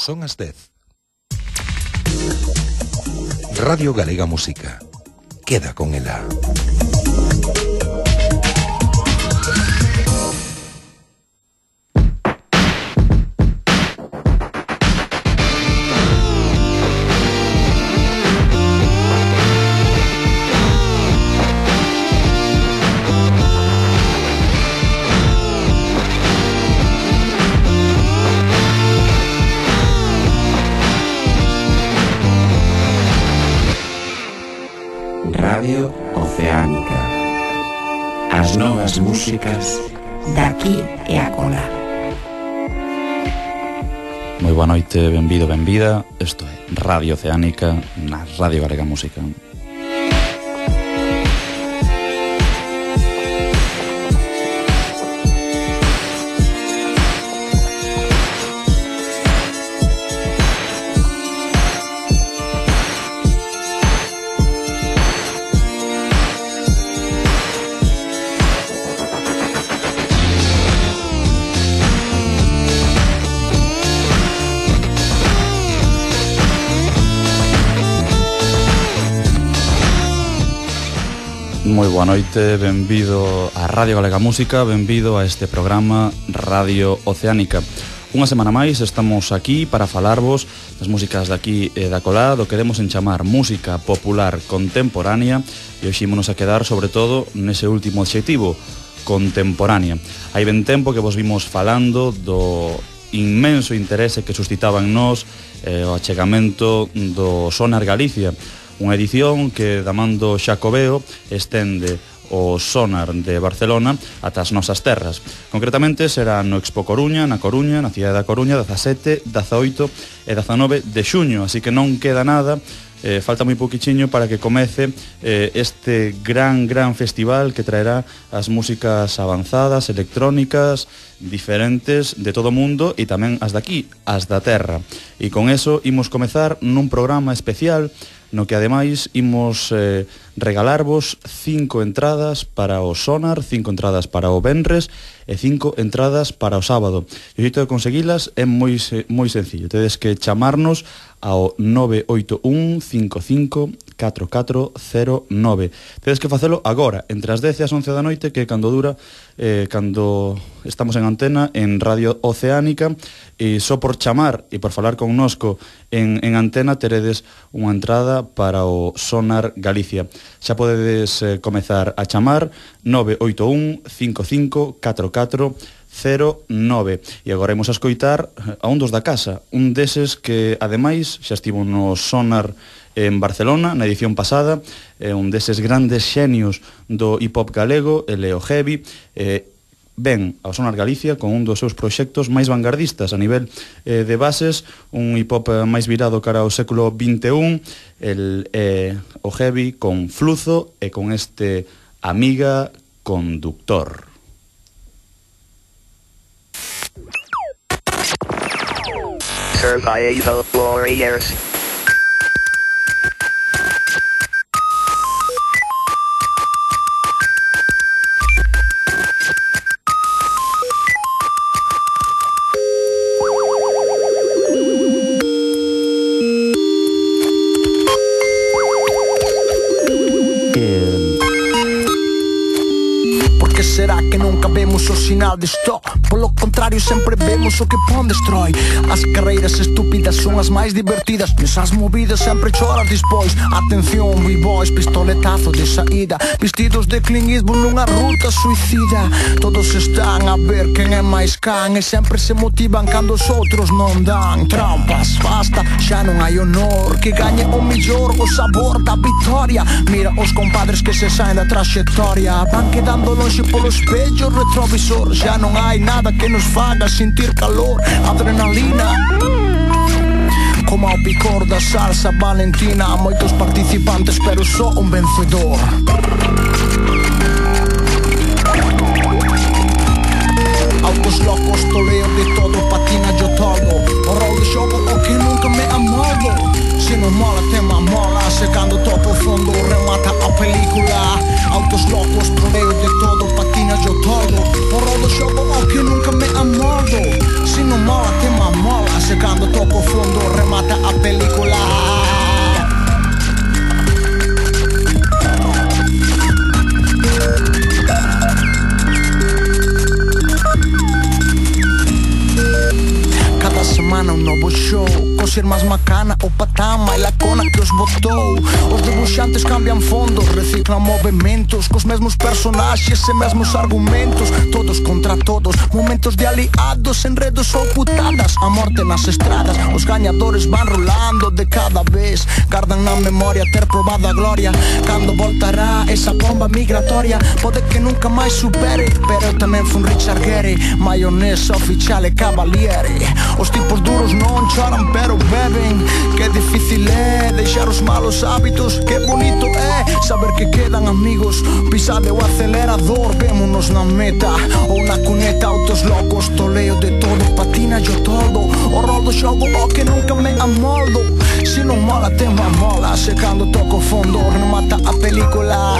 Son as 10. Radio Galega Música. Queda con ela. Radio Oceánica. As novas músicas daqui e acolá. Moi boa noite, benvido, benvida. Isto é Radio Oceánica na Radio Galega Música. Moi boa noite, benvido a Radio Galega Música, benvido a este programa Radio Oceánica. Unha semana máis estamos aquí para falarvos das músicas daqui e da colá, do que demos en chamar música popular contemporánea, e hoxe ímonos a quedar sobre todo nese último adxectivo, contemporánea. Hai ben tempo que vos vimos falando do inmenso interese que suscitaba en nós o achegamento do Sonar Galicia, unha edición que, da man do Xacobeo, estende o Sonar de Barcelona ata as nosas terras. Concretamente será no Expo Coruña, na cidade da Coruña, 17, 18 e 19 de xuño, así que non queda nada, falta moi pouquichiño para que comece este gran festival que traerá as músicas avanzadas, electrónicas, diferentes de todo o mundo e tamén as daqui, as da terra. E con eso imos comezar nun programa especial no que ademais imos regalarvos 5 entradas para o Sonar, 5 entradas para o Venres e 5 entradas para o sábado. E o xeito de conseguilas é moi sencillo. Tedes que chamarnos ao 981 55 4409. Tedes que facelo agora, entre as 10 e as 11 da noite, que cando dura, cando estamos en antena en Radio Oceánica, e só por chamar e por falar connosco en antena teredes unha entrada para o Sonar Galicia. Xa podedes comezar a chamar 981 55 4409. E agora imos a escoitar a un dos da casa, un deses que ademais xa estivo no Sonar en Barcelona na edición pasada, un deses grandes xenios do hip-hop galego, el Leo Heavy, ven ao Sonar Galicia con un dos seus proxectos máis vanguardistas a nivel de bases, un hip-hop máis virado cara ao século XXI, o Heavy con Fluzo e con este Amiga Conductor. Survival Warriors. Será que nunca vemos o sinal de stop? Polo contrario, sempre vemos o que pon destrói. As carreiras estúpidas son as máis divertidas. Nesas movidas sempre choras despois. Atención, b-boys, pistoletazo de saída, vestidos de Clint Eastwood nunha ruta suicida. Todos están a ver quen é máis can, e sempre se motivan cando os outros non dan. Trampas, basta, xa non hai honor. Que gañe o mellor, o sabor da victoria. Mira os compadres que se saen da traxectoria, van quedando longe polo espello retrovisor. Já non hai nada que nos faga sentir calor. Adrenalina como ao picor da salsa valentina. Moitos participantes pero só un vencedor. Autos locos, toleo de todo, patina yo todo. O rol de xogo o que nunca me amoldo. Se non mola, tema mola. Se cando topo fondo remata a película. Autos locos, toleo de todo, patina yo todo. O rol de xogo o que nunca me amoldo. Se non mola, tema mola. Se cando topo fondo ser máis macana, o patán, máis lacona que os botou. Os debuxantes cambian fondos, reciclan movimentos, cos mesmos personaxes e mesmos argumentos. Todos contra todos, momentos de aliados, enredos ou putadas, a morte nas estradas. Os gañadores van rolando de cada vez, gardan na memoria ter probado a gloria. Cando voltará esa bomba migratoria, pode que nunca máis supere, pero eu tamén fun Richard Gere, maionesa, oficial e cavaliere. Os tipos duros non choran pero beben, que difícil é deixar os malos hábitos, que bonito é saber que quedan amigos. Pisade o acelerador, vémonos na meta ou na cuneta. Autos locos, toleo de todo, patina yo todo, o rol do xogo o que nunca me amoldo. Se non mola, te mola, se cando toco fondo remata a película.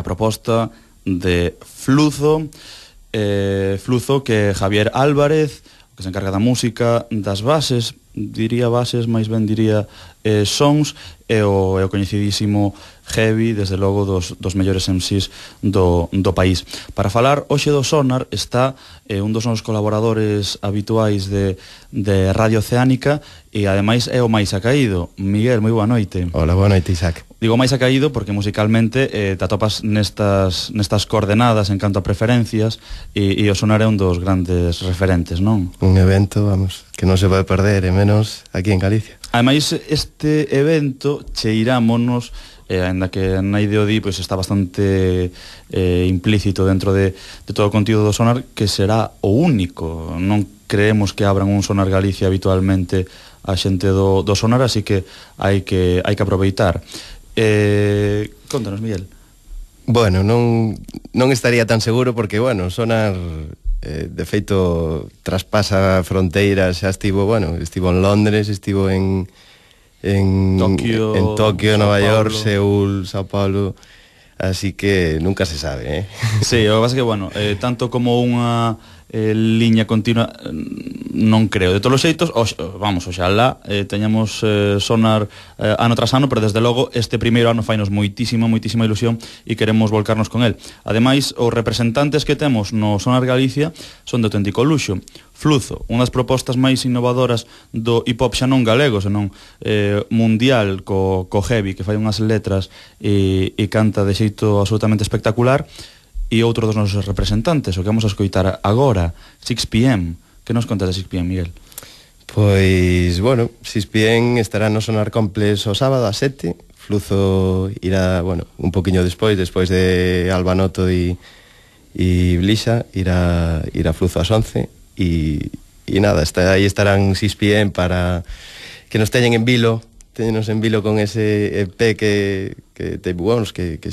Proposta de Fluzo, Fluzo, que Javier Álvarez, que se encarga da música, das bases, diría bases, máis ben diría sons, e o coñecidísimo Heavy, desde logo dos mellores MCs do país. Para falar hoxe do Sonar está un dos nosos colaboradores habituais de Radio Oceánica e ademais é o máis acaído. Miguel, moi boa noite. Hola, boa noite, Isaac. Digo máis acaído porque musicalmente te atopas nestas coordenadas en canto a preferencias e o Sonar é un dos grandes referentes, non? Un evento, vamos, que non se pode perder, e menos aquí en Galicia. Ademais, este evento cheirámonos, ainda que na Ideodí pois está bastante implícito dentro de todo o contido do Sonar, que será o único. Non creemos que abran un Sonar Galicia habitualmente a xente do Sonar, así que hai que aproveitar. Contanos, Miguel. Bueno, non estaría tan seguro porque, bueno, Sonar de feito traspasa fronteiras, xa estivo en Londres, estivo en Tokio, Nova York, Seúl, Sao Paulo, así que nunca se sabe, Sí, o que pasa que, bueno, tanto como unha liña continua non creo. De todos os xeitos, oxalá teñamos Sonar ano tras ano, pero desde logo este primeiro ano fainos moitísima ilusión e queremos volcarnos con el. Ademais, os representantes que temos no Sonar Galicia son de auténtico luxo. Fluzo, unha das propostas máis innovadoras do hip-hop xa non galego, senón mundial, co Heavy, que fai unhas letras e canta de xeito absolutamente espectacular. E outro dos nosos representantes, o que vamos a escoitar agora, 6pm. Que nos contas de 6pm, Miguel? Pois, bueno, 6pm estará no Sonar Complex o sábado a 7. Fluzo irá, bueno, un poquinho despois de Albanoto e Blisa, irá Fluzo ás 11. E nada, aí estarán 6pm para que nos teñen en vilo con ese EP que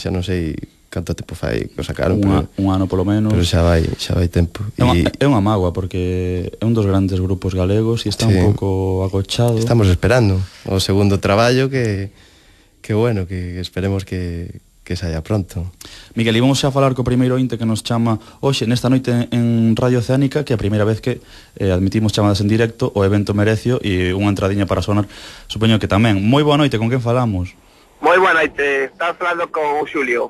xa non sei canto tempo fai que o sacaron, un ano polo menos. Pero xa vai tempo. É unha mágoa porque é un dos grandes grupos galegos e está un pouco agochado. Estamos esperando o segundo traballo que bueno, que esperemos que saia pronto. Miguel, íbamos xa a falar co primeiro ointe que nos chama hoxe nesta noite en Radio Oceánica, que é a primeira vez que admitimos chamadas en directo, o evento Merecio e unha entradiña para sonar, supoño que tamén. Moi boa noite, con quen falamos? Moi boa noite, estás falando con Xulio.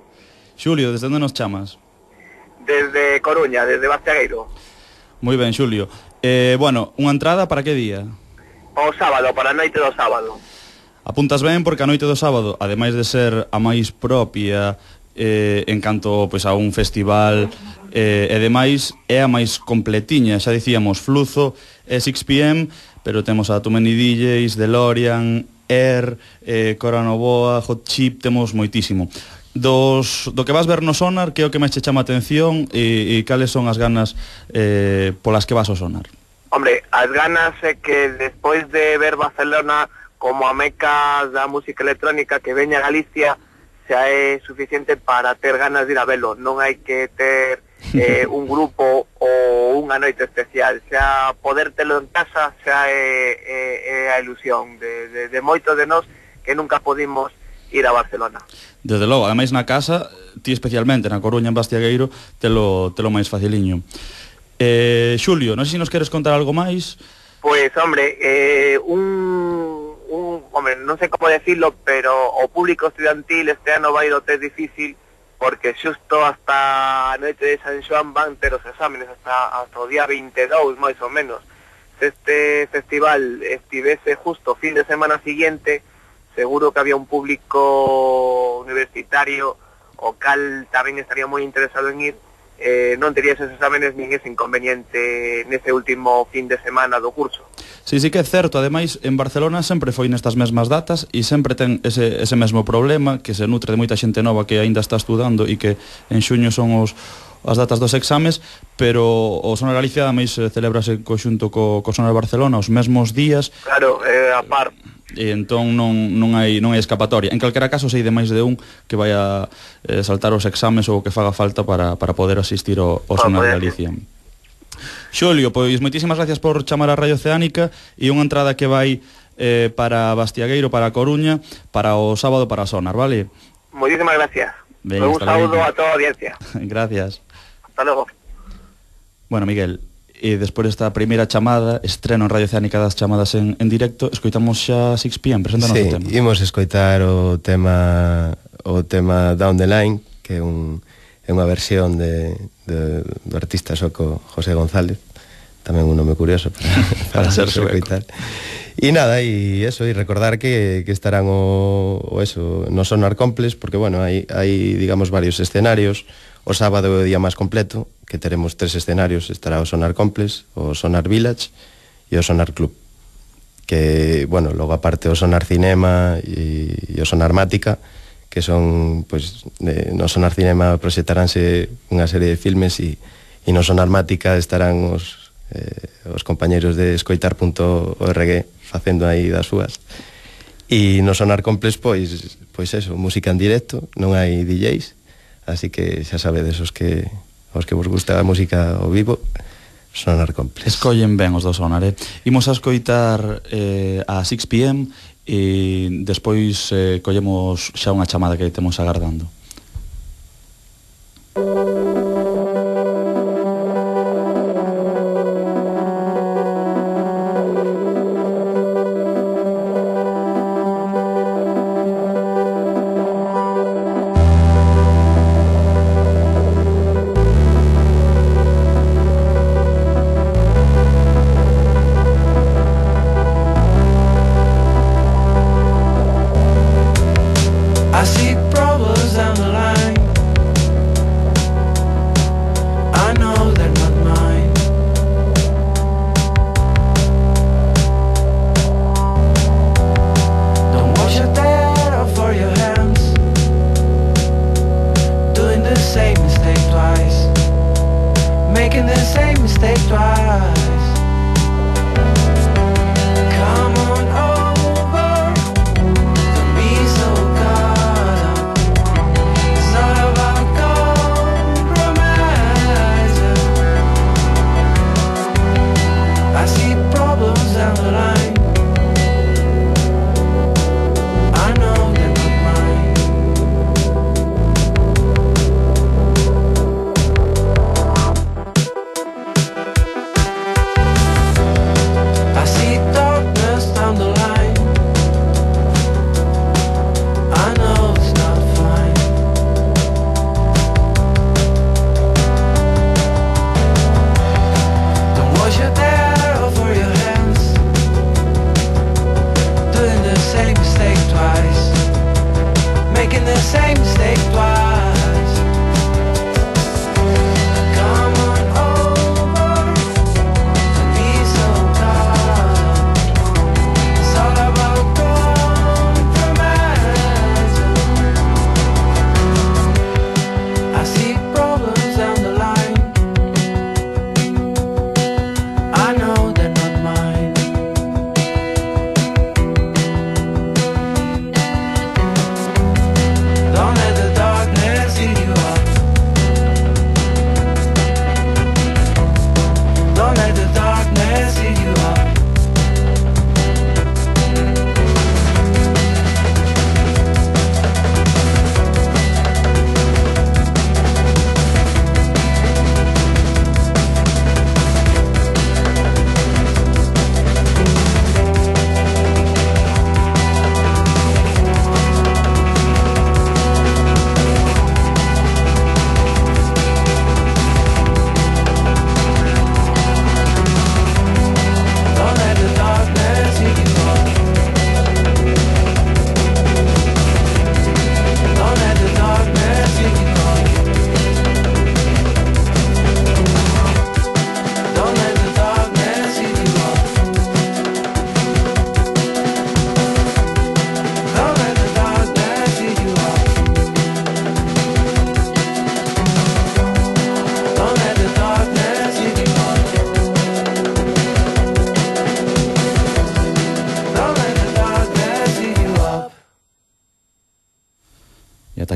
Xulio, desde onde nos chamas? Desde Coruña, desde Bastiagueiro. Moi ben, Xulio. Bueno, unha entrada para que día? O sábado, para a noite do sábado. Apuntas ben porque a noite do sábado, ademais de ser a máis propia en canto pois, a un festival e demais, é a máis completiña. Xa dicíamos, Fluzo e 6pm, pero temos a Too Many DJs, DeLorean, Air, Cora Novoa, Hot Chip, temos moitísimo. Do que vas ver no Sonar, que é o que máis che chama a atención e cales son as ganas polas que vas ao Sonar? Hombre, as ganas é que despois de ver Barcelona como a meca da música electrónica que veña a Galicia xa é suficiente para ter ganas de ir a velo. Non hai que ter un grupo ou unha noite especial, xa poder telo en casa xa é a ilusión de moitos de nós que nunca podimos ir a Barcelona. Desde logo, ademais na casa, ti especialmente na Coruña, en Bastiagueiro, telo máis faciliño. Xulio, non sei se nos queres contar algo máis. Pois, hombre, hombre, non sei como decirlo, pero o público estudiantil este ano vai do ter difícil porque xusto hasta a noite de San Xoán van ter os exámenes hasta o día 22, máis ou menos. Se este festival estivese justo fin de semana siguiente, seguro que había un público universitario o cal tamén estaría moi interesado en ir. Non tería esos exámenes nin ese inconveniente nese último fin de semana do curso. Sí que é certo, ademais en Barcelona sempre foi nestas mesmas datas e sempre ten ese mesmo problema, que se nutre de moita xente nova que aínda está estudando e que en xuño son as datas dos exames, pero o Sonar Galicia ademais celebrase en conxunto co Sonar Barcelona os mesmos días. Claro, a par. E entón non hai escapatoria. En calquera caso, sei de máis de un que vai a saltar os exames ou que faga falta para poder asistir ao Sonar Galicia. Xulio, pois moitísimas gracias por chamar a Radio Oceánica e unha entrada que vai para Bastiagueiro, para Coruña, para o sábado para Sonar, vale? Moitísimas gracias. Ben, un saúdo a toda a audiencia. Gracias. Hasta logo. Bueno, Miguel, e despois desta primeira chamada, estreno en Radio Oceánica das chamadas en directo, escoitamos xa 6pm, preséntanos o tema. Sí, imos escoitar o tema Down the Line, que é unha versión do artista sueco José González, tamén un nome curioso para ser sueco. E nada, e eso, e recordar que estarán no Sonar Complex, porque bueno, hai digamos varios escenarios. O sábado é o día máis completo, que teremos 3 escenarios, estará o Sonar Complex, o Sonar Village e o Sonar Club. Que, bueno, logo aparte o Sonar Cinema e o Sonar Mática, que son, pois, no Sonar Cinema proxectaránse unha serie de filmes e no Sonar Mática estarán os compañeiros de escoitar.org facendo aí das súas. E no Sonar Complex, pois eso, música en directo, non hai DJs, así que xa sabedes os que vos gusta a música ao vivo, Sonar Complex. Escollen ben os do Sonar, Imos a escoitar a 6pm e despois collemos xa unha chamada que temos agardando. I see problems down the line.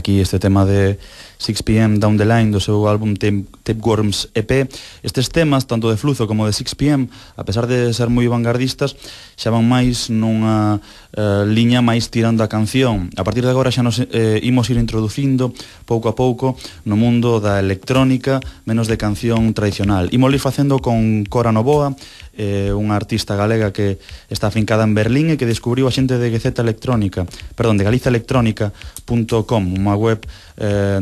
aquí este tema de 6pm Down the Line do seu álbum Tapeworms EP. Estes temas, tanto de Fluzo como de 6pm, a pesar de ser moi vanguardistas, xa van máis nunha liña máis tirando a canción. A partir de agora xa nos imos ir introducindo pouco a pouco no mundo da electrónica, menos de canción tradicional. Imos ir facendo con Cora Novoa, unha artista galega que está afincada en Berlín e que descubriu a xente de de galizaelectrónica.com, unha web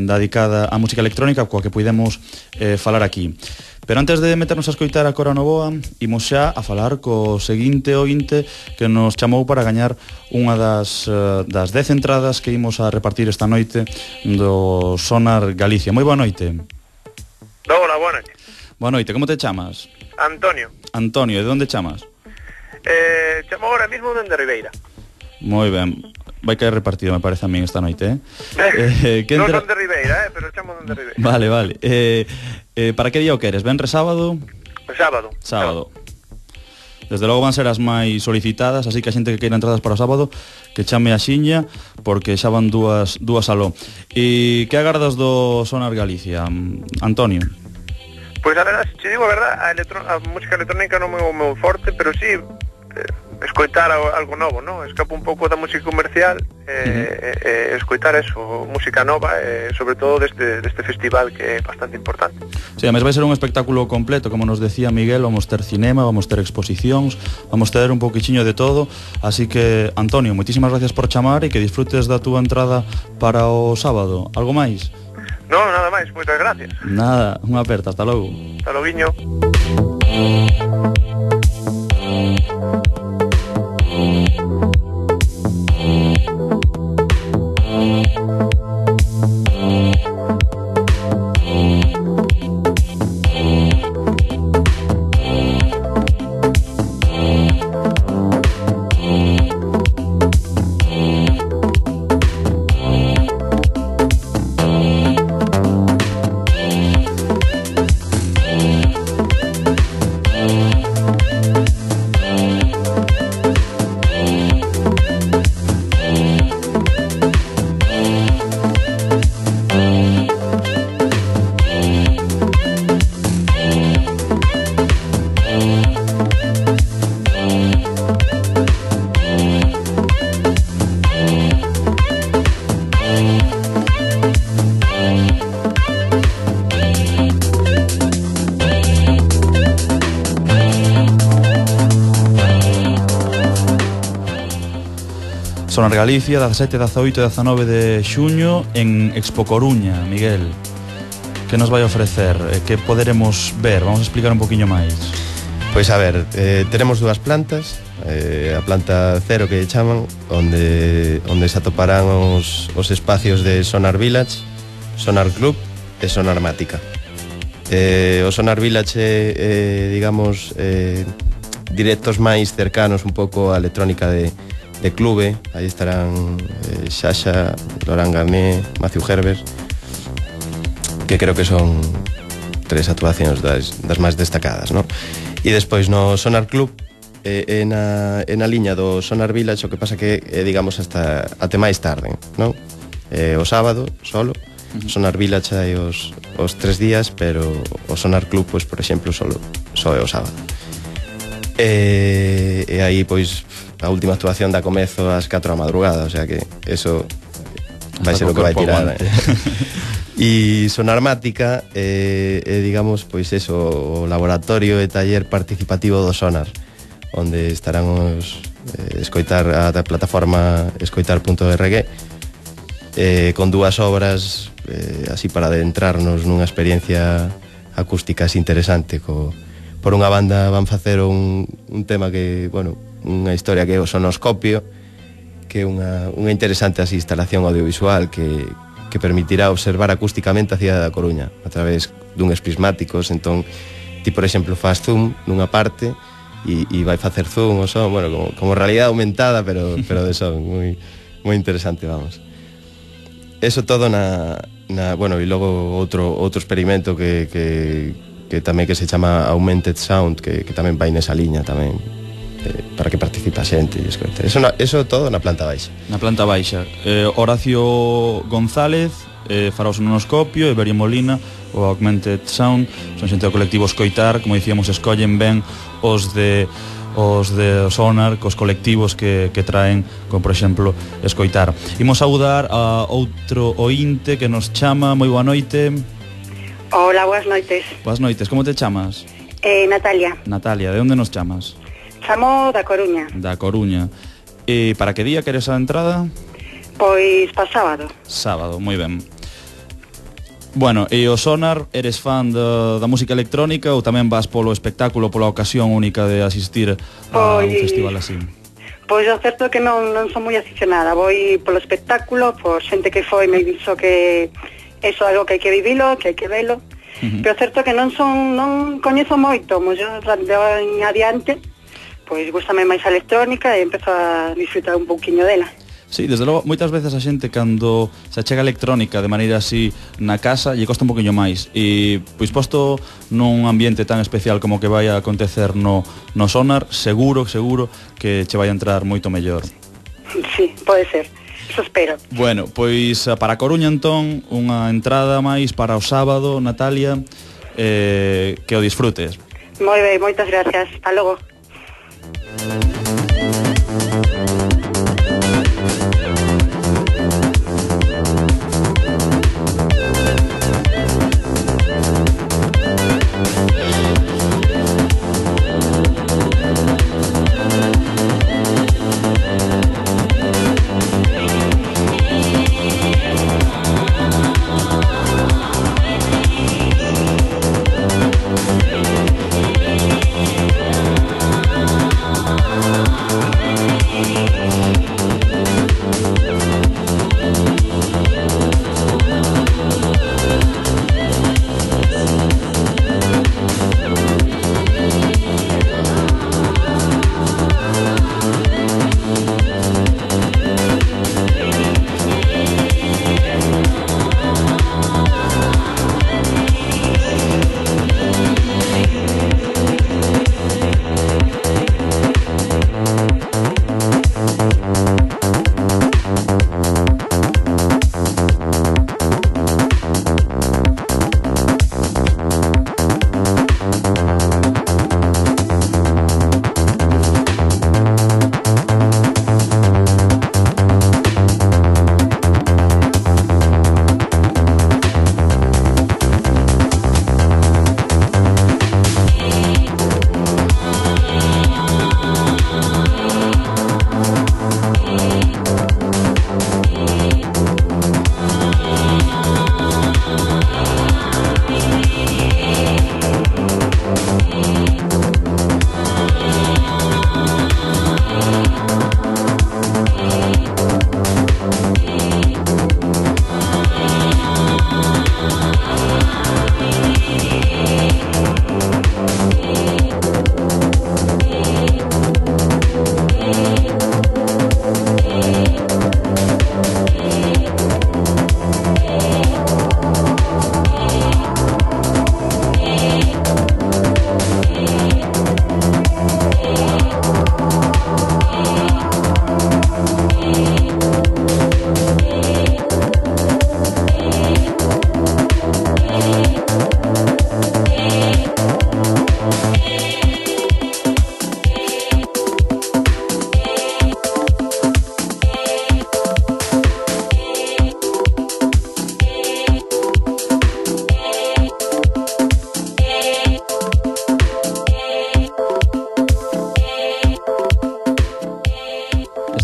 dedicada á música electrónica coa que podemos falar aquí. Pero antes de meternos a escoitar a Cora Novoa, imos xa a falar co seguinte ointe que nos chamou para gañar unha das 10 entradas que imos a repartir esta noite do Sonar Galicia. Moi boa noite. Hola, boa noite. Boa noite, como te chamas? Antonio. Antonio, de onde chamas? Chamo ahora mismo dende Ribeira. Moi ben, vai caer repartido, me parece a min esta noite, Non son de Ribeira, pero chamo dende Ribeira. Vale, vale. Para que día o queres? Venres sábado? Sábado. Sábado. Desde logo van ser as máis solicitadas, así que a xente que queira entradas para o sábado que chame a xiña, porque xa van dúas aló. E que agardas do Sonar Galicia, Antonio? Pois a verdade, se digo a verdade, a música electrónica non é o meu forte, pero sí escoitar algo novo, non? Escapo un pouco da música comercial escoitar eso, música nova, sobre todo deste festival que é bastante importante. Sí, además vai ser un espectáculo completo, como nos decía Miguel, vamos ter cinema, vamos ter exposicións, vamos ter un pouquichiño de todo, así que, Antonio, moitísimas gracias por chamar e que disfrutes da túa entrada para o sábado. Algo máis? Non, nada máis, moitas gracias. Nada, unha aperta, hasta logo. Hasta loguiño. Sonar Galicia, 17, 18 e 19 de xuño en Expo Coruña. Miguel, que nos vai ofrecer? Que poderemos ver? Vamos a explicar un poquinho máis. Pois a ver, tenemos dúas plantas, a planta 0 que chaman, onde se atoparán os espacios de Sonar Village, Sonar Club e Sonar Mática. O Sonar Village é, digamos, directos máis cercanos un pouco á electrónica de clube. Aí estarán Xaxa, Laurent Garnier, Matthew Herbert, que creo que son 3 actuacións das máis destacadas, non? E despois no Sonar Club na liña do Sonar Village, o que pasa que digamos hasta até máis tarde, non? O sábado solo Sonar Village hai os 3 días, pero o Sonar Club, pois, por exemplo, só é o sábado. E aí, pois, a última actuación da comezo ás 4 da madrugada, o sea que eso vai ser o que vai tirar. E Sonar Mática digamos, pois eso, o laboratorio e taller participativo do Sonar, onde estarán os escoitar a plataforma escoitar.org, con dúas obras así para adentrarnos nunha experiencia acústica interesante. Por unha banda van facer un tema que, bueno, unha historia que é o sonoscopio, que é unha interesante así instalación audiovisual que permitirá observar acústicamente a cidade da Coruña a través duns prismáticos. Entón, ti, por exemplo, faz zoom nunha parte e vai facer zoom o son, bueno, como realidade aumentada, pero de son, moi interesante, vamos. Eso todo bueno, e logo outro experimento que tamén que se chama Augmented Sound, que tamén vai nesa liña tamén. para que participe a xente e escoite. Eso todo na planta baixa. Na planta baixa. Horacio González fará o sonoscopio, e Berio Molina o Augmented Sound. Son xente do colectivo Escoitar, como dicíamos, escollen ben os de Sonar, cos colectivos que traen, como por exemplo Escoitar. Imos saudar a outro ointe que nos chama. Moi boa noite. Hola, boas noites. Boas noites, como te chamas? Natalia. Natalia, de onde nos chamas? Chamo da Coruña. Da Coruña. E para que día queres a entrada? Pois pa sábado. Sábado, moi ben. Bueno, e o Sonar, eres fan da música electrónica ou tamén vas polo espectáculo, pola ocasión única de asistir a un festival así? Pois o certo é que non son moi aficionada. Vou polo espectáculo, por xente que foi me dixo que eso é algo que hai que vivilo, que hai que velo. Pero certo que non coñezo moito, moi yo en adiante, pois gústame máis a electrónica e empezo a disfrutar un pouquiño dela. Sí, desde logo, moitas veces a xente cando se achega a electrónica de maneira así na casa lle costa un poquinho máis, e pois posto nun ambiente tan especial como que vai a acontecer no Sonar, seguro que che vai a entrar moito mellor. Sí, pode ser. Eso espero. Bueno, pois para Coruña entón unha entrada máis para o sábado, Natalia, que o disfrutes. Moi ben, moitas gracias. Hasta logo.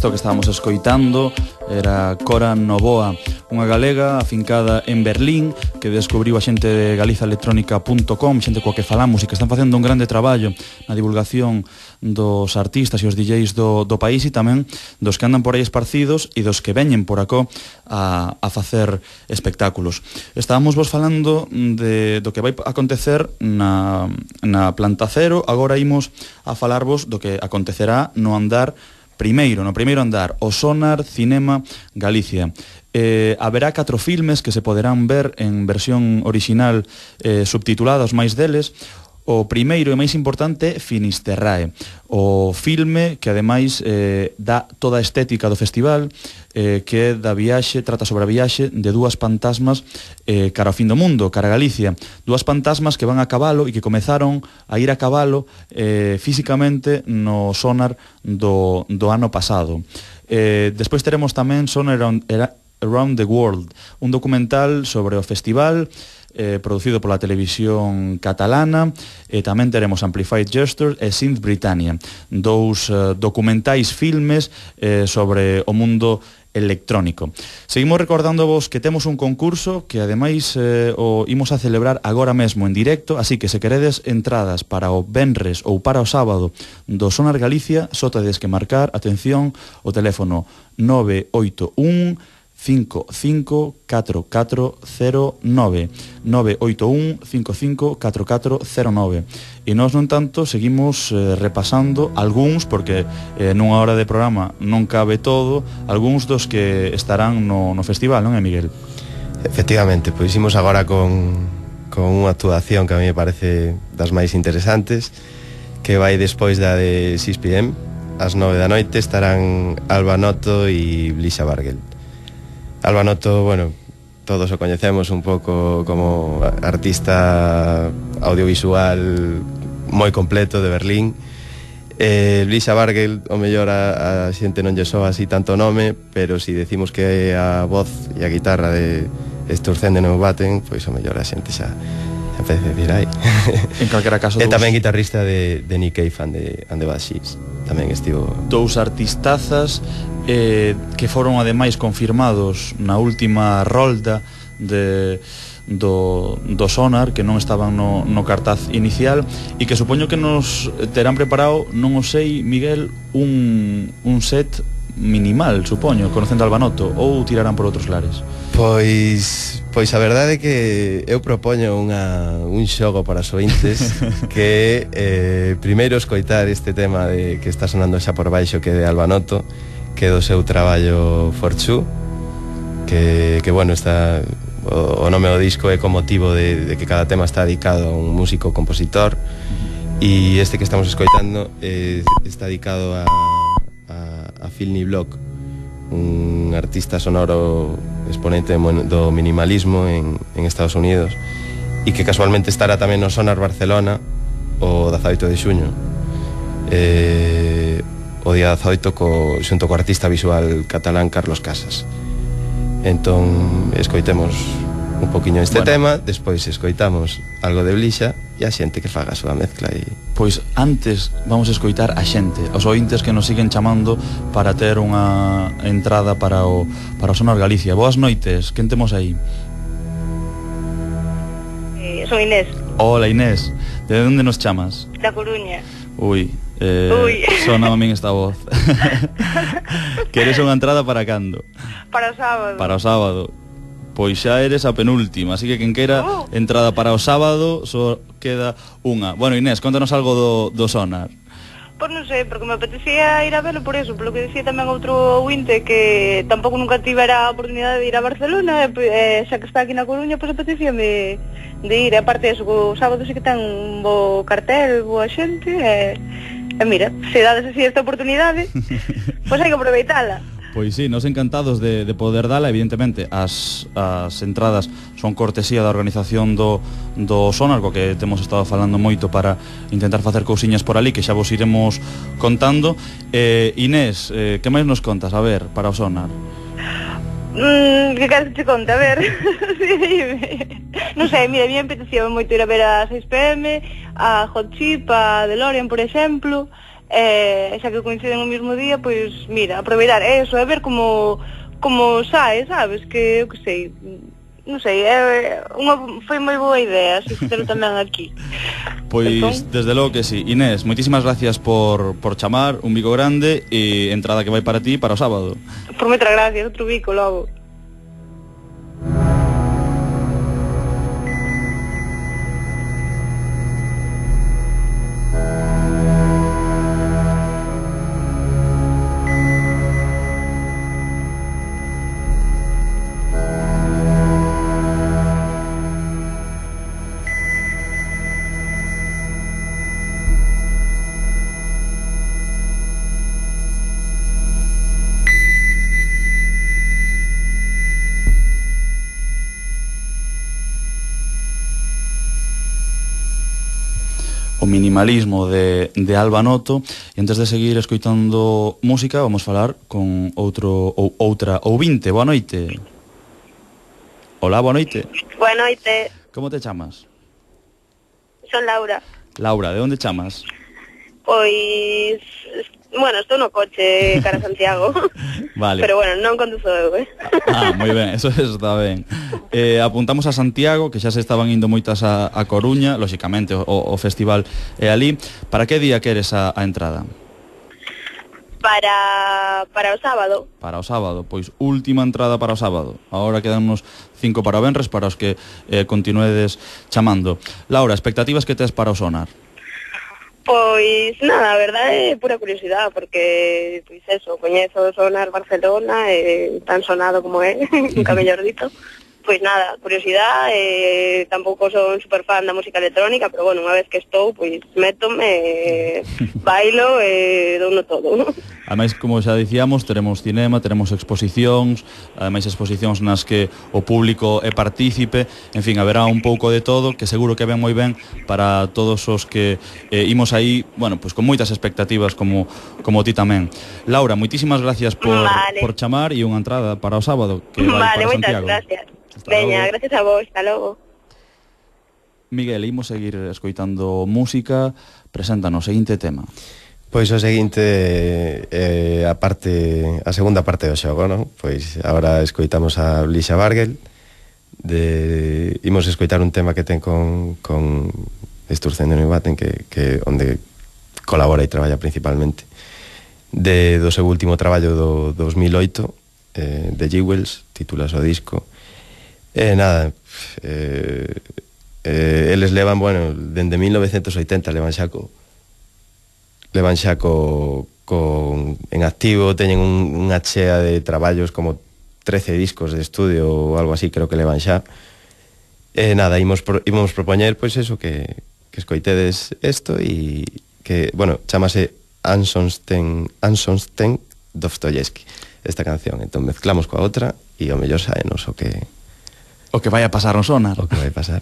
Isto que estábamos escoitando era Cora Novoa, unha galega afincada en Berlín que descubriu a xente de galizaelectronica.com, xente coa que falamos e que están facendo un grande traballo na divulgación dos artistas e os DJs do país e tamén dos que andan por aí esparcidos e dos que veñen por acó a facer espectáculos. Estábamos vos falando do que vai acontecer na Planta Cero, agora imos a falarvos do que acontecerá no andar no primeiro andar, o Sonar Cinema Galicia. Haberá 4 filmes que se poderán ver en versión original subtitulada, os máis deles. O primeiro e máis importante é Finisterrae, o filme que ademais dá toda a estética do festival, que é da viaxe, trata sobre a viaxe de dúas fantasmas cara ao fin do mundo, cara a Galicia. Dúas fantasmas que van a cabalo e que comezaron a ir a cabalo físicamente no sonar do ano pasado. Despois teremos tamén Sonar Around the World, un documental sobre o festival producido pola televisión catalana, e tamén teremos Amplified Gestures e Synth Britannia, dous documentais filmes sobre o mundo electrónico. Seguimos recordándovos que temos un concurso que ademais o imos a celebrar agora mesmo en directo, así que se queredes entradas para o venres ou para o sábado do Sonar Galicia, só tedes que marcar, atención, o teléfono 981 554409 981 554409. E nós, non tanto, seguimos repasando algúns, porque nunha hora de programa non cabe todo, algúns dos que estarán no festival, non é, Miguel? Efectivamente, pois imos agora con unha actuación que a mí me parece das máis interesantes, que vai despois da de 6 p.m. Ás 9 da noite estarán Alba Noto e Blisa Bargel. Alba Noto, bueno, todos o coñecemos un pouco como artista audiovisual moi completo de Berlín. Blisa Bargel, o mellor a xente non lle soa así tanto nome, pero si decimos que a voz e a guitarra de Estorcende non baten, pois o mellor a xente xa empece a decir aí. En calquera caso, e tamén guitarrista de Nick Cave and the Bad Seeds. Tamén estivo... Dous artistazas que foron ademais confirmados na última rolda do Sonar, que non estaban no cartaz inicial, e que supoño que nos terán preparado, non o sei, Miguel, un set minimal, supoño, conocendo Alba Noto, ou tirarán por outros lares? Pois a verdade é que eu propoño un xogo para os ointes, que primeiro escoitar este tema que está sonando xa por baixo, que é de Alba Noto, que é do seu traballo Forchu, que bueno, está o nome do disco é con motivo de que cada tema está dedicado a un músico compositor, e este que estamos escoitando está dedicado a Phil Niblock, un artista sonoro exponente do minimalismo en Estados Unidos, e que casualmente estará tamén no Sonar Barcelona o 18 de xuño, o día 18 xunto co artista visual catalán Carlos Casas. Entón escoitemos un poquinho este tema, despois escoitamos algo de Blisa e a xente que faga a súa mezcla. Pois antes vamos a escoitar a xente, os ointes que nos siguen chamando para ter unha entrada para o Sonar Galicia. Boas noites, quen temos aí? Son Inés. Hola Inés, de onde nos chamas? Da Coruña. Ui, sona a min esta voz. Queres unha entrada para cando? Para o sábado. Para o sábado. Pois xa eres a penúltima, así que quen quera entrada para o sábado só queda unha. Bueno, Inés, contanos algo do Sonar. Pois non sei, porque me apetecía ir a verlo por eso, polo que decía tamén outro ointe que tampouco nunca tivera a oportunidade de ir a Barcelona, xa que está aquí na Coruña, pois apetecíame de ir. E aparte eso, o sábado sí que ten un bo cartel, boa xente, e mira, se dades así esta oportunidade, pois hai que aproveitala. Pois sí, nos encantados de poder dala. Evidentemente, as entradas son cortesía da organización do Sonar, co que temos estado falando moito para intentar facer cousiñas por ali, que xa vos iremos contando. Inés, que máis nos contas, a ver, para o Sonar? Que queres que te conte, a ver? Non sei, mira, a mí me apetecía moito ir a ver a 6 p.m, a Hot Chip, a DeLorean, por exemplo, xa que coinciden o mesmo día, pois, mira, aproveitar eso, e ver como sae, sabes, que, eu que sei, non sei, foi moi boa idea, se fixeron tamén aquí. Pois, entón, desde logo que sí. Inés, moitísimas gracias por chamar, un bico grande, e entrada que vai para ti para o sábado. Por moitas gracias, outro bico logo. minimalismo de Alba Noto. E antes de seguir escoitando música, vamos falar con outra ouvinte. Boa noite. Hola, boa noite. Boa noite. Como te chamas? Son Laura. Laura, de onde chamas? Pois, bueno, estou no coche cara a Santiago. Vale. Pero bueno, non conduzo eu, moi ben, eso está ben. Apuntamos a Santiago, que xa se estaban indo moitas a Coruña, lóxicamente o festival é ali. Para que día queres a entrada? Para o sábado. Para o sábado, pois última entrada para o sábado. Agora quedan uns 5 para o venres, para os que continuedes chamando. Laura, expectativas que tes para o sonar? Pois nada, a verdade é pura curiosidade, porque pois eso, coñezo o sonar Barcelona, tan sonado como é, nunca mellor dito. Pois nada, curiosidade, tampouco son super fan da música electrónica, pero bueno, unha vez que estou, pois métome, bailo e douno todo, ¿no? Ademais, como xa dicíamos, teremos cinema, teremos exposicións, ademais exposicións nas que o público é partícipe, en fin, haberá un pouco de todo, que seguro que ven moi ben para todos os que imos aí, bueno, pois con moitas expectativas como ti tamén. Laura, moitísimas gracias por chamar e unha entrada para o sábado que vai para Santiago. Vale, moitas gracias. Veña, gracias a vos, hasta logo. Miguel, imos seguir escoitando música. Preséntanos o seguinte tema. Pois o seguinte a segunda parte do xogo, non? Pois agora escoitamos a Blixa Bargel. Imos escoitar un tema que ten con Sturzen de Neubaten, que onde colabora e traballa principalmente, do seu último traballo do 2008, de Jewels, titulas o disco. Nada, eles levan, bueno, dende 1980 levan xa en activo, teñen unha chea de traballos, como 13 discos de estudio ou algo así, creo que levan xa. Nada, imos propoñer, pois eso, que escoitedes isto e que, bueno, chamase Ansonsten Dostoyevsky esta canción, entón mezclamos coa outra e o mellor saenos o que vai a pasar no sonar. O que vai pasar.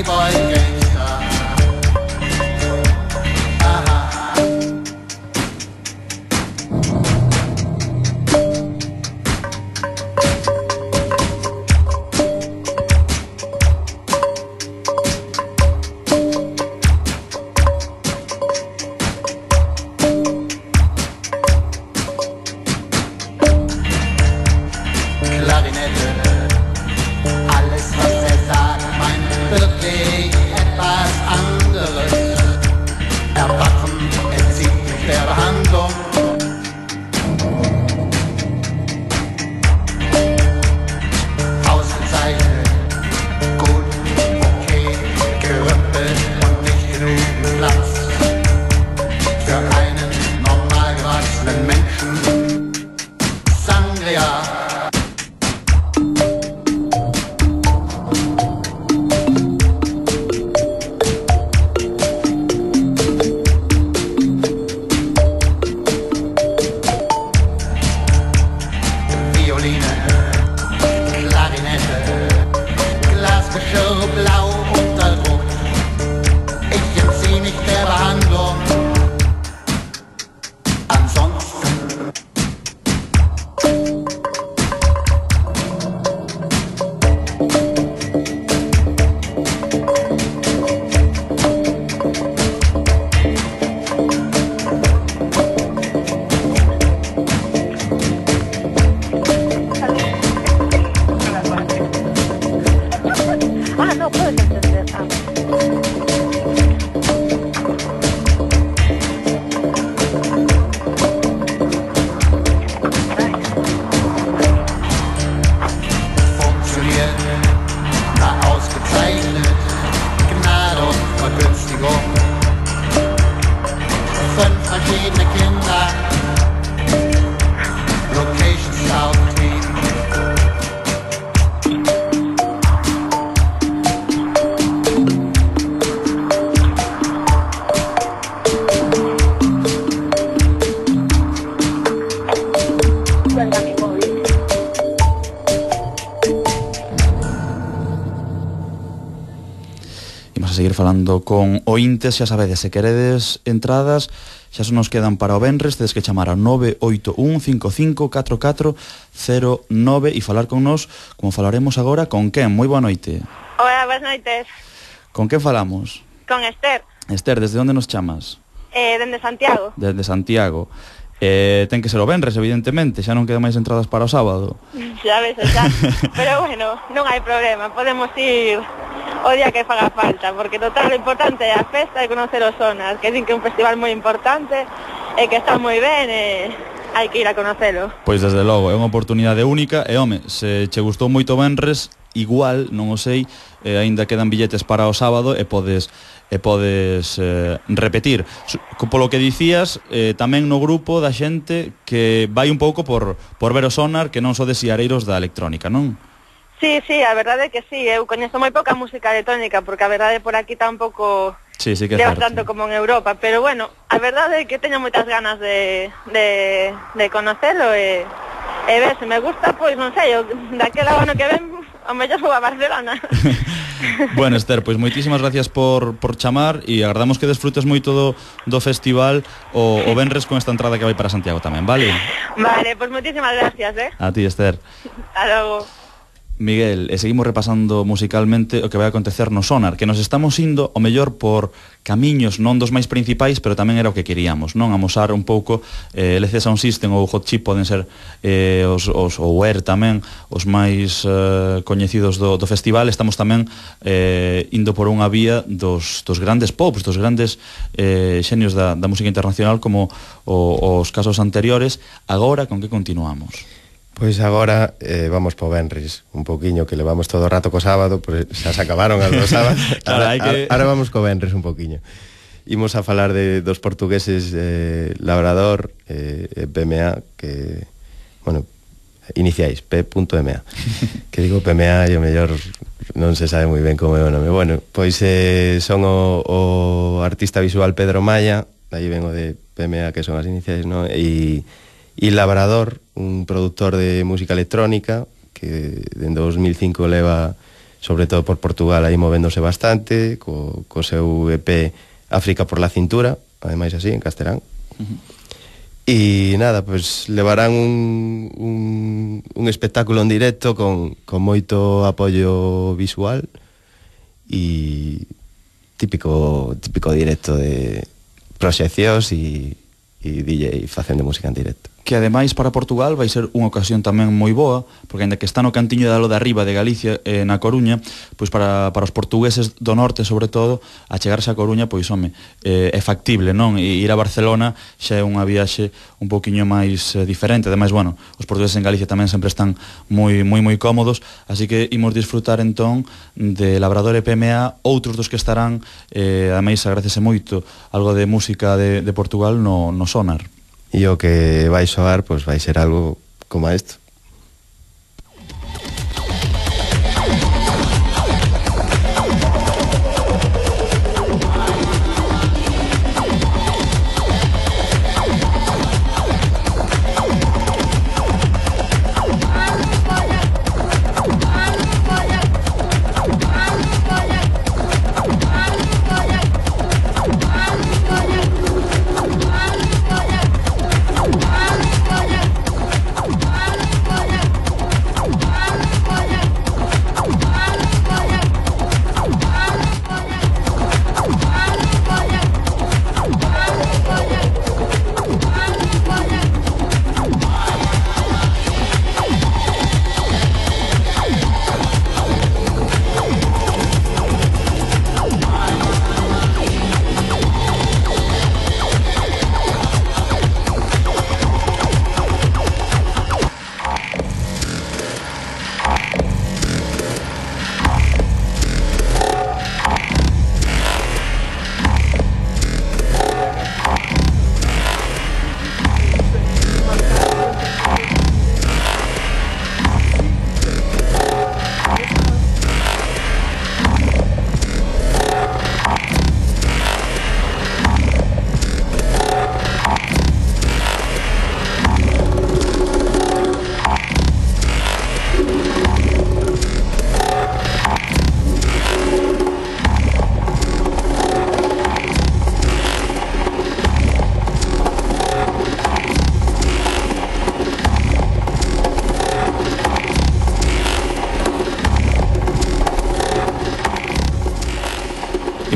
Playboy Gangster. seguir falando con ointes. Xa sabedes, se queredes entradas, xa se nos quedan para o venres, tedes que chamar ao 981554409 e falar con nos, como falaremos agora, con quen? Moi boa noite. Hola, boas noites. Con quen falamos? Con Esther. Esther, desde onde nos chamas? Dende Santiago. Desde Santiago. Ten que ser o venres, evidentemente, xa non quedan máis entradas para o sábado. Xa ves, xa. Pero bueno, non hai problema, podemos ir o día que faga falta, porque total o importante é a festa e conocer os Sonar, que din que é un festival moi importante e que está moi ben e hai que ir a conocelo. Pois desde logo, é unha oportunidade única e, home, se che gustou moito venres, igual, non o sei, aínda quedan billetes para o sábado e podes repetir. Polo que dicías, tamén no grupo da xente que vai un pouco por ver o Sonar, que non so de siareiros da electrónica, non? Sí, a verdade é que sí, eu coñezo moi pouca música electrónica, porque a verdade por aquí tampouco sí que leva tanto como en Europa, pero bueno, a verdade é que teño moitas ganas de conocelo e ver se me gusta, pois non sei, daquela ano que ven, o mellor vou a Barcelona. Bueno, Esther, pois moitísimas gracias por chamar e agardamos que desfrutes moito do festival o venres con esta entrada que vai para Santiago tamén, vale? Vale, pois moitísimas gracias, A ti, Esther. Hasta logo. Miguel, seguimos repasando musicalmente o que vai acontecer no Sonar, que nos estamos indo o mellor por camiños non dos máis principais, pero tamén era o que queríamos, non? Amosar un pouco LC Sound System ou Hot Chip poden ser os Ware tamén os máis coñecidos do festival. Estamos tamén indo por unha vía dos grandes pops, dos grandes xenios da música internacional, como os casos anteriores. Agora, con que continuamos? Pois agora vamos po venres un poquiño, que levamos todo o rato co sábado, pois xa se acabaron as do sábado. Claro, ahora vamos co venres un poquiño. Imos a falar dos portugueses Labrador e PMA, que, bueno, iniciais, P.MA. Que digo PMA e o mellor non se sabe moi ben como é o nome. Bueno, pois son o artista visual Pedro Maya, aí ven o de PMA, que son as iniciais, non? E Labrador, un produtor de música electrónica que dende 2005 leva sobre todo por Portugal aí movéndose bastante co seu EP África por la cintura, ademais así en castelán. E nada, pues levarán un espectáculo en directo con moito apoio visual e típico directo de proxeccións e DJ facendo música en directo. Que ademais para Portugal vai ser unha ocasión tamén moi boa, porque ainda que está no cantiño da lo de arriba de Galicia, na Coruña, pois para os portugueses do norte, sobre todo, a chegarse a Coruña, pois home, é factible, non? E ir a Barcelona xa é unha viaxe un poquinho máis diferente. Ademais, bueno, os portugueses en Galicia tamén sempre están moi cómodos, así que imos disfrutar entón de Labrador e PMA, outros dos que estarán, ademais agradece moito algo de música de Portugal no Sonar. E o que vai soar, pois vai ser algo como isto.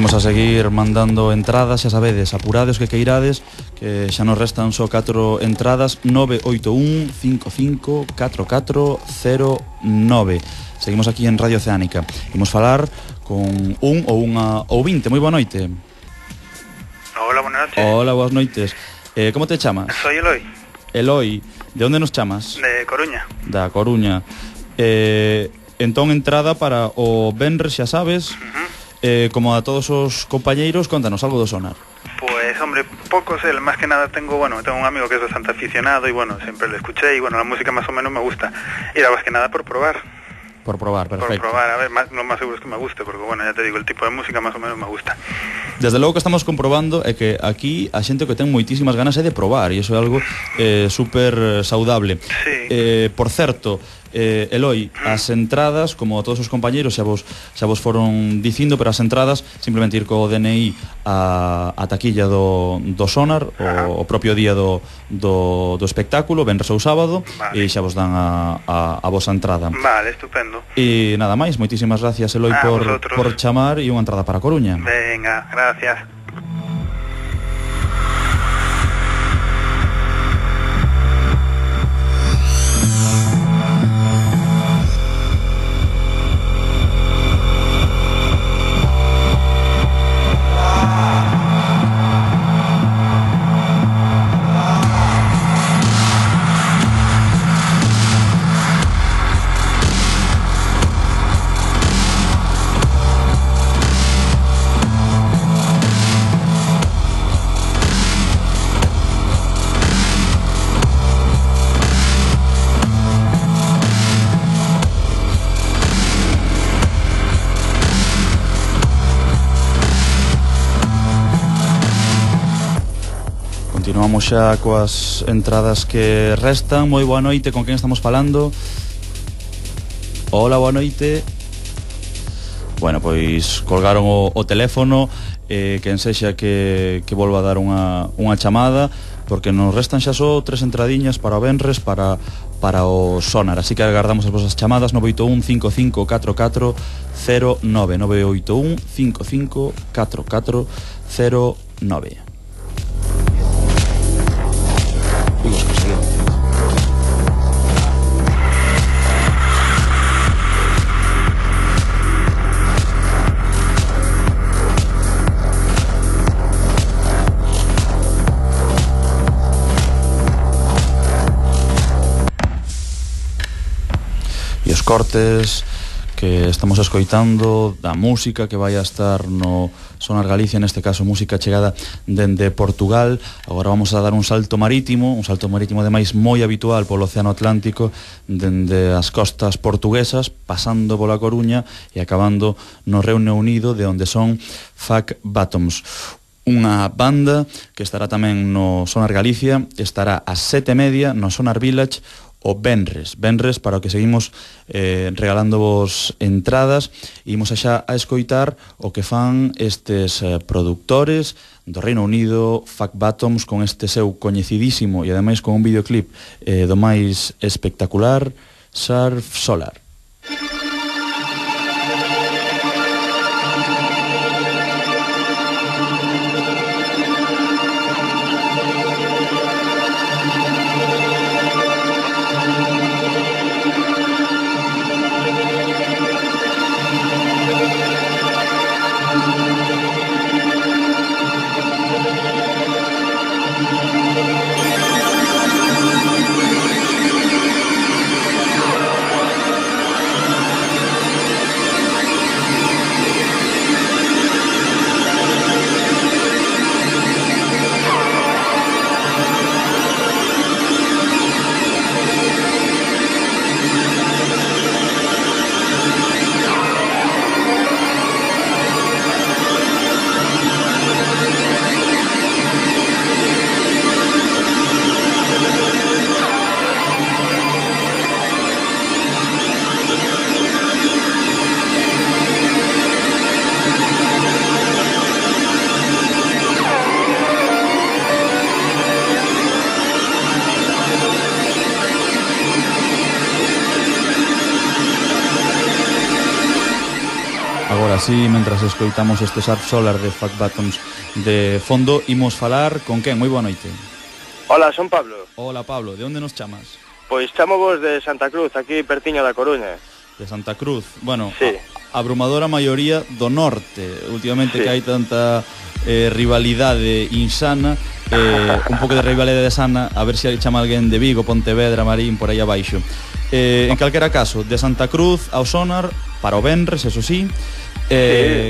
Imos a seguir mandando entradas, xa sabedes, apurades que queirades, que xa nos restan só 4 entradas, 981 55 4409. Seguimos aquí en Radio Oceánica. Imos falar con un ou unha ouvinte. Moi boa noite. Hola, buenas noches. Hola, boas noites. Como te chamas? Soy Eloi. Eloi, de onde nos chamas? De Coruña. Da Coruña. Entón, entrada para o venres, xa sabes. Como a todos os compañeiros, contanos algo do sonar. Pues, hombre, pocos, más que nada tengo un amigo que es bastante aficionado y bueno, siempre le escuché y bueno, la música más o menos me gusta. Y era más que nada por probar. Por probar, perfecto. Por probar, a ver, lo más seguro es que me guste, porque bueno, ya te digo, el tipo de música más o menos me gusta. Desde logo que estamos comprobando é que aquí a xente que ten moitísimas ganas é de probar, e iso é algo super saudable. Sí. Por certo, Eloi, as entradas, como todos os compañeiros xa vos foron dicindo, pero as entradas simplemente ir co DNI a taquilla do sonar o propio día do espectáculo, venres ou sábado, vale. E xa vos dan a vosa entrada. Vale, estupendo. E nada máis, moitísimas gracias, Eloi, por chamar, e unha entrada para Coruña. Venga, gracias. Continuamos xa coas entradas que restan. Moi boa noite, con quen estamos falando? Hola, boa noite. Bueno, pois colgaron o teléfono, quen sexa que volva a dar unha chamada, porque nos restan xa só 3 entradiñas para o venres, para o sonar, así que agardamos as vosas chamadas. 981 55 44 09, 981 55 44 09. E os cortes que estamos escoitando da música que vai a estar no Sonar Galicia, neste caso música chegada dende Portugal. Agora vamos a dar un salto marítimo ademais moi habitual polo Océano Atlántico, dende as costas portuguesas, pasando pola Coruña e acabando no Reino Unido, de onde son Fuck Bottoms, unha banda que estará tamén no Sonar Galicia. Estará ás 7:30 no Sonar Village o venres para o que seguimos regalándovos entradas. Imos xa a escoitar o que fan estes productores do Reino Unido, Fuck Bottoms, con este seu coñecidísimo e ademais con un videoclip do máis espectacular, Surf Solar. así, mentras escoitamos este Surf Solar de Fat Bottoms de fondo, imos falar con quen? Moi boa noite. Hola, son Pablo. Hola, Pablo, de onde nos chamas? Pois chamo vos de Santa Cruz, aquí pertiño da Coruña. De Santa Cruz. Bueno, sí. Abrumadora maioría do norte. Últimamente sí. Que hai tanta rivalidade insana, un pouco de rivalidade sana, a ver se chama alguén de Vigo, Pontevedra, Marín, por aí abaixo. En calquera caso, de Santa Cruz ao Sonar, para o Venres, eso sí.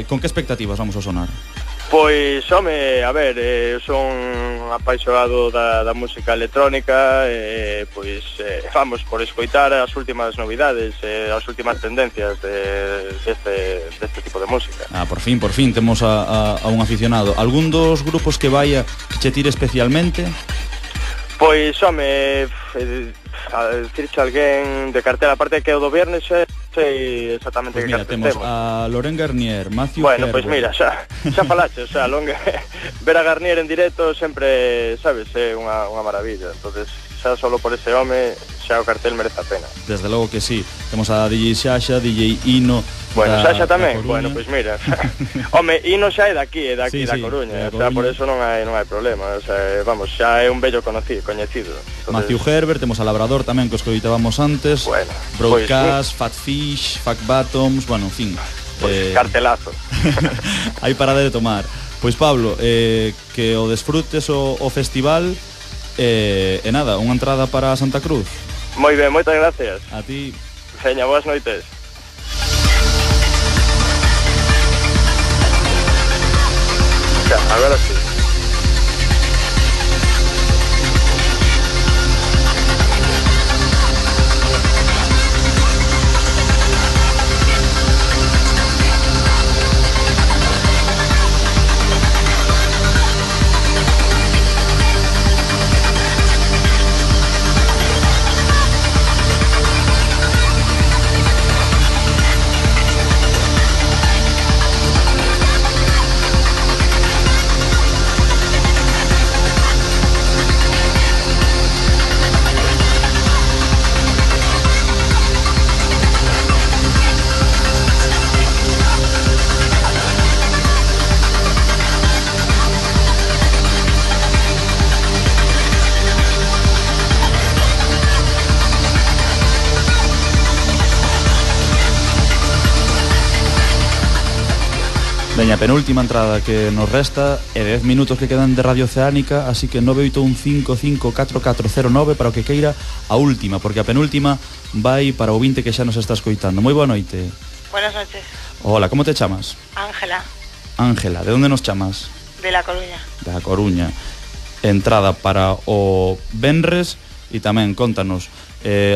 Con que expectativas vamos ao Sonar? Pois, home, a ver, son apaixonado da música electrónica, pois vamos por escoitar as últimas novidades, as últimas tendencias deste tipo de música. Por fin, temos a un aficionado. Algún dos grupos que vaya que che tire especialmente? Pois, home, a decirche alguén de cartela, aparte que o do viernes sei exactamente pues que mira, temos a Laurent Garnier, Matthew Bueno, Herbert. pois mira, xa falache, o sea, ver a Garnier en directo sempre, sabes, é unha maravilla. Entonces, xa solo por ese home, xa o cartel merece a pena. Desde logo que sí. Temos a DJ Xaxa, DJ Ino. Bueno, Xaxa tamén, bueno, pois mira. Home, Ino xa é daqui, sí, da Coruña, o sea, por eso non hai problema, o sea, vamos, xa é un bello coñecido. Entonces... Matthew Herbert, temos a Labrador tamén, que os coitábamos antes. Bueno, Broadcast, Fat Fish, Fat Bottoms, bueno, en fin. Pues cartelazo. Hai parada de tomar. Pois Pablo, que o desfrutes o festival, e nada, unha entrada para Santa Cruz. Moi ben, moitas gracias. A ti. Veña, boas noites. Xa, agora sí. Veña, penúltima entrada que nos resta e 10 minutos que quedan de Radio Oceánica, así que 981554409 para o que queira a última, porque a penúltima vai para o 20 que xa nos está escoitando. Moi boa noite. Buenas noches. Hola, como te chamas? Ángela. Ángela, de onde nos chamas? De La Coruña. Da Coruña. Entrada para o Venres e tamén, contanos,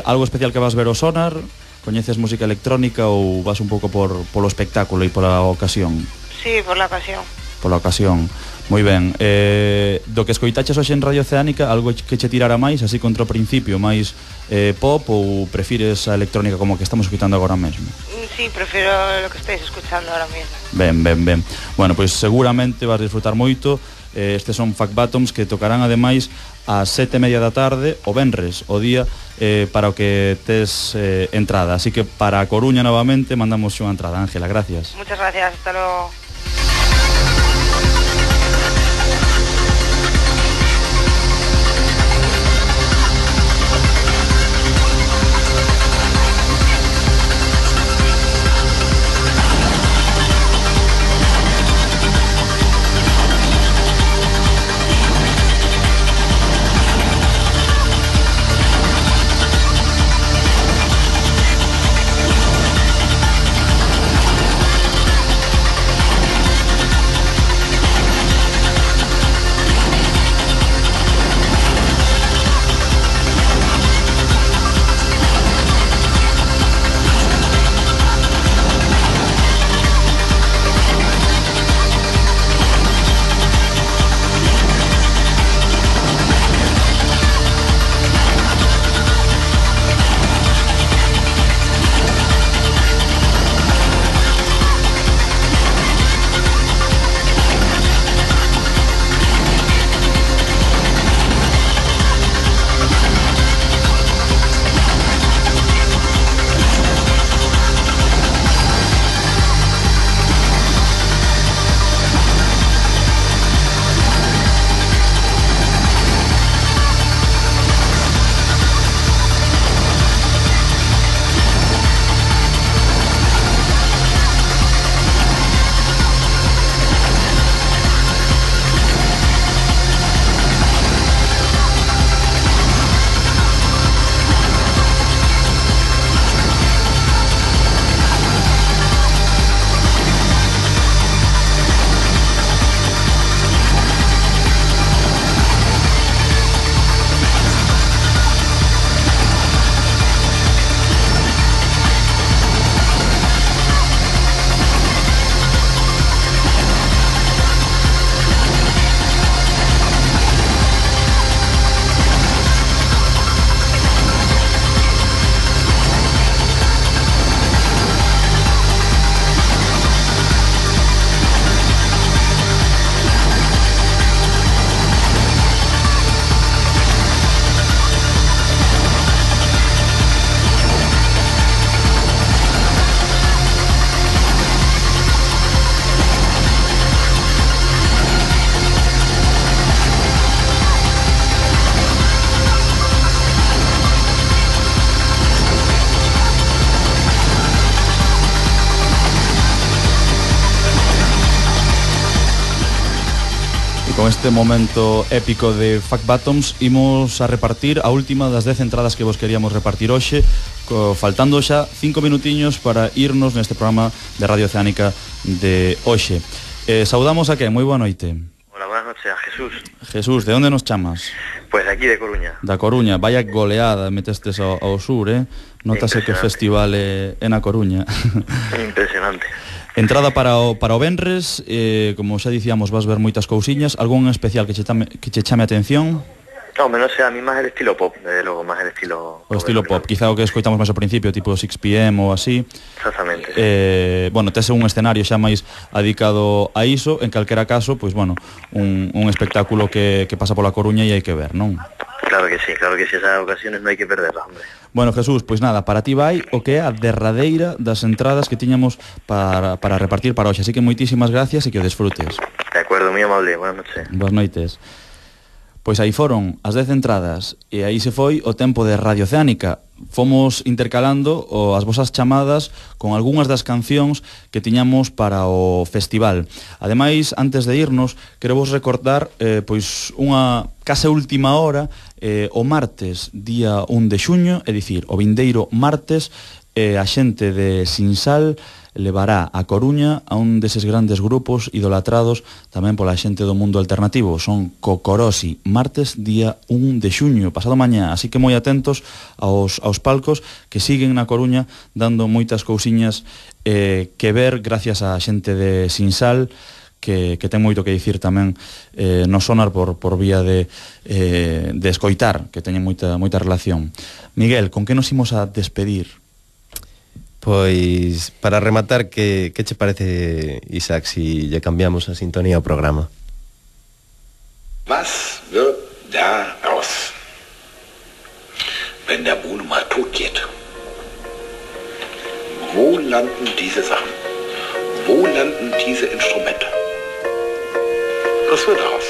algo especial que vas ver o Sonar? Coñeces música electrónica ou vas un pouco polo espectáculo e pola ocasión? Sí, por la ocasión. Pola ocasión. Moi ben. Do que escoitaches hoxe en Radio Oceánica, algo que che tirara máis, así contra o principio, máis pop, ou prefires a electrónica como que estamos escoitando agora mesmo? Sí, prefiero lo que estáis escuchando ahora mismo. Ben. Bueno, pois seguramente vas disfrutar moito. Estes son Fat Bottoms que tocarán ademais ás 7:30 da tarde o venres, o día para o que tes entrada. Así que para a Coruña novamente mandamos unha entrada. Ángela, gracias. Muchas gracias, hasta luego. con este momento épico de Fuck Bottoms imos a repartir a última das 10 entradas que vos queríamos repartir hoxe, faltando xa 5 minutiños para irnos neste programa de Radio Oceánica de hoxe. Saudamos a que, moi boa noite. Hola, buenas noches, a Jesús. Jesús, de onde nos chamas? Pues aquí de Coruña. Da Coruña, vaya goleada metestes ao sur, Notase que o festival é na Coruña. Impresionante. Entrada para o venres, como xa dicíamos, vas ver moitas cousiñas. Algún especial que che chame a atención? No, no sé, a mí más el estilo pop, desde luego, más el estilo... O estilo pop, quizá o que escoitamos máis ao principio, tipo 6pm ou así. Exactamente. Bueno, tese un escenario xa máis adicado a iso, en calquera caso, pois, bueno, un espectáculo que pasa pola Coruña e hai que ver, non? Claro que sí, esas ocasiones no hai que perderlas, hombre. Bueno, Jesús, pois nada, para ti vai o que é a derradeira das entradas que tiñamos para repartir para hoxe, así que moitísimas gracias e que o desfrutes. De acuerdo, moi amable, buenas noches. Boas noites. Pois aí foron as 10 entradas e aí se foi o tempo de Radio Oceánica. Fomos intercalando as vosas chamadas con algunhas das cancións que tiñamos para o festival. Ademais, antes de irnos, quero vos recordar pois unha case última hora, o martes, día 1 de xuño, é dicir, o vindeiro martes, a xente de Sinsal levará a Coruña a un deses grandes grupos idolatrados tamén pola xente do mundo alternativo. Son Cocorosi, martes, día 1 de xuño, pasado mañá, así que moi atentos aos palcos que siguen na Coruña dando moitas cousiñas que ver gracias á xente de Sinsal, que ten moito que dicir tamén no sonar por vía de escoitar, que teñen moita relación. Miguel, con que nos imos a despedir? Pois, para rematar, que che parece, Isaac, si lle cambiamos a sintonía ao programa? Was wird da aus, wenn der Buhne mal tot geht? Wo landen diese Sachen? Wo landen diese Instrumente? Was wird daraus?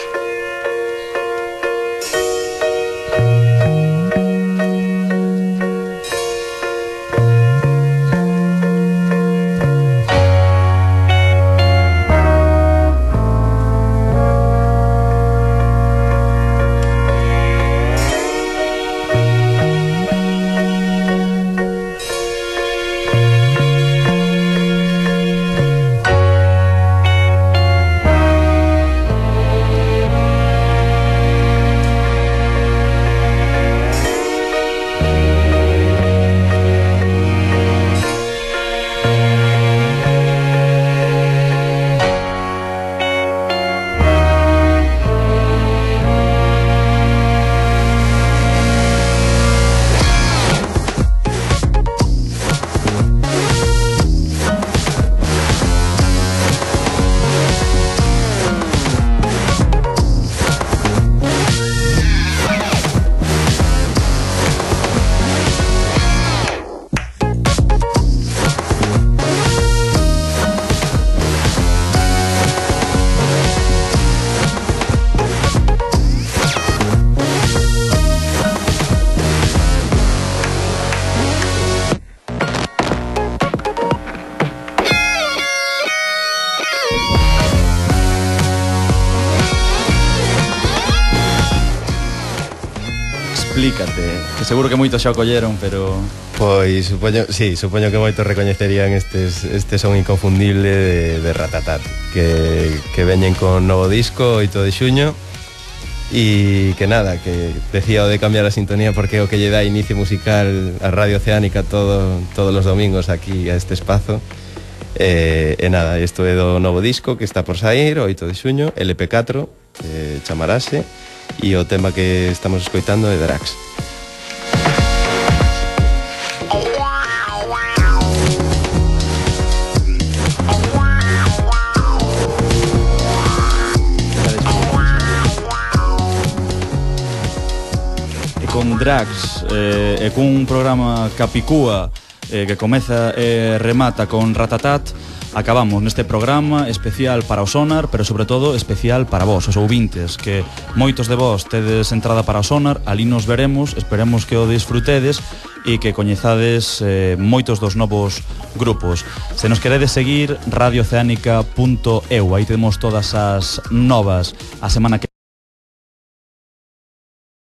Explícate, que seguro que moitos xa o colleron, pero... Pois, supoño que moitos recoñecerían este son inconfundible de Ratatat, que veñen con novo disco 8 de xuño, e que nada, que decía o de cambiar a sintonía porque é o que lle dá inicio musical a Radio Oceánica todos os domingos aquí a este espazo. E nada, isto é do novo disco que está por sair, 8 de xuño, LP4, chamarase, e o tema que estamos escoitando é Drax. E con Drax, cun programa Capicúa que comeza e remata con Ratatat, acabamos neste programa especial para o Sonar, pero sobre todo especial para vos, os ouvintes, que moitos de vos tedes entrada para o Sonar, ali nos veremos, esperemos que o disfrutedes e que coñezades moitos dos novos grupos. Se nos queredes seguir, radiooceanica.eu, aí temos todas as novas a semana que